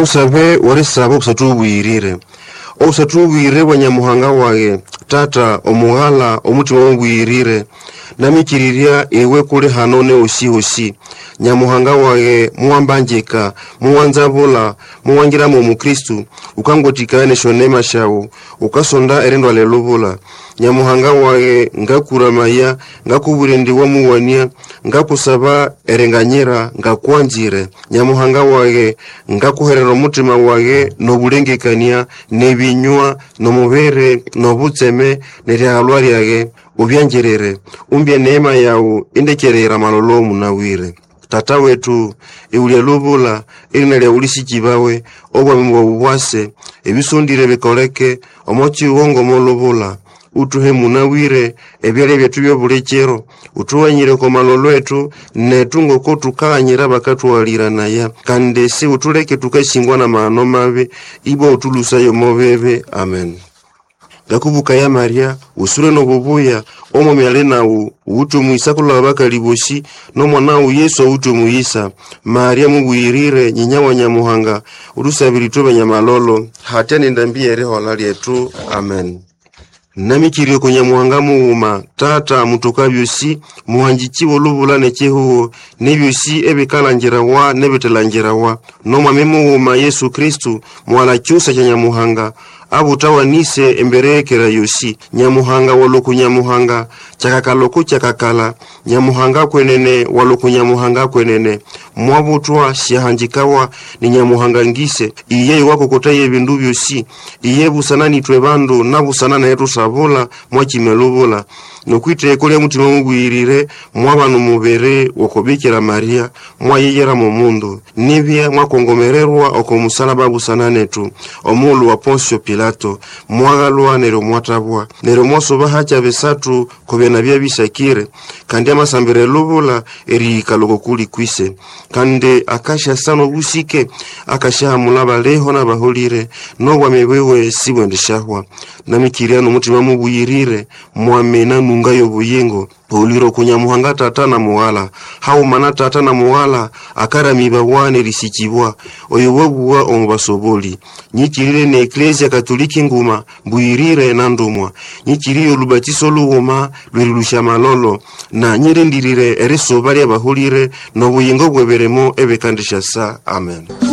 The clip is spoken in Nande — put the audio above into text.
Omusabe w'erisaba obusathu bubuyirire. Obusathu bubuyirire bwa Nyamuhanga wage, Tata, Omughala, Omutima mubuyirire, namikirirya iwe kuli hano nehosi-hosi. Nyamuhanga wage, muwambanjika, muwanzabula, muwangiramo Omukristu, ukangwatikaya n'esyonema syawu, ukasonda erindwala elubula. Nyamuhanga wage, ngakuramaya, ngakubwira indi wamuwania, ngakusaba eringanyira, ngakwanzire. Nyamuhanga wage, ngakuherera omutima wage n'obulengekania, n'ebinywa, n'omubiri, n'obutseme, n'eryahalwa lyage, ubyangirire, umbye neema yawu indekerera amalolo munawire. Tata wetu iwulya lubula, erina lyawu lisikibawe, obwami bwawu bwase, ebisondire bikoleke, omo kiwongo ng'omo lubula. Utuhe munawire ebyalya byethu by'obulikiro, utughanyire oko malolo ethu, nethu ngoko tukaghanyira abakathughaliranaya, kandi si utuleke tukasingwa n'amahano mabi, ibwa utulusaye omo bibi. Amen. Ngakubukaya Maria, usule n'obubuya, Omwami ali nawu, uwithe omuyisa kulaba abakali bosi, n'omwana wawu Yesu awithe omuyisa. Maria mubuyirire, nyinya wa Nyamuhanga, utusabire ithwe banyamalolo, hatya n'endambi y'erihola lyethu. Amen. Namikirire ku Nyamuhanga mughuma, Tata mutoka byosi, muhangichi w'olubula n'ekihugo, n'ebyosi ebikalangirawa n'ebithalangirawa, n'Omwami mughuma Yesu Kristu, mughala kyusa kya Nyamuhanga, abutawanise embererekera yosi. Nyamuhanga waloku Nyamuhanga, kyakakala oko kyakakala, Nyamuhanga kwenene waloku Nyamuhanga kwenene, mwabutwa syahanjikawa ni Nyamuhanga ngise, iye iwakokotaya ebindu byosi, iye busana nithwe bandu nabusana netu sabula mwakima elubula, n'okwitheko lya mutima mubuyirire mwabana omubiri w'oko Bikira Maria, mwayeyera mo mundu, nibya mwakongomererwa oko musalaba busana nethu, omughulu wa Ponsio Pilato, mwaghalwa neryo mwathabwa, neryo mwasoba hakya bisathu ko byana byabisakire, kandi amasambira elubula erihika loko kuli kwise, kandi akasyasa n'obusike, akasyahamula abaliho n'abaholire, n'obwami bwiwe sibwendisyahwa. Namikirya n'omutima mubuyirire, mwamina nunga y'obuyingo, uliro ku Nyamuhanga Tata na Mughala, haghuma na Tata na Mughala, akaramibawa n'erisikibwa, oyo wabuwa omu basoboli. Nyikirire ne Eklezia Katoliki nguma, mbuyirire na ndumwa. Nyikiriye olubatiso lughuma lwerilusya malolo, na nyirindirire erisuba ly'abaholire n'obuyingo bw'ebirimo ebikandisyasa. Amen.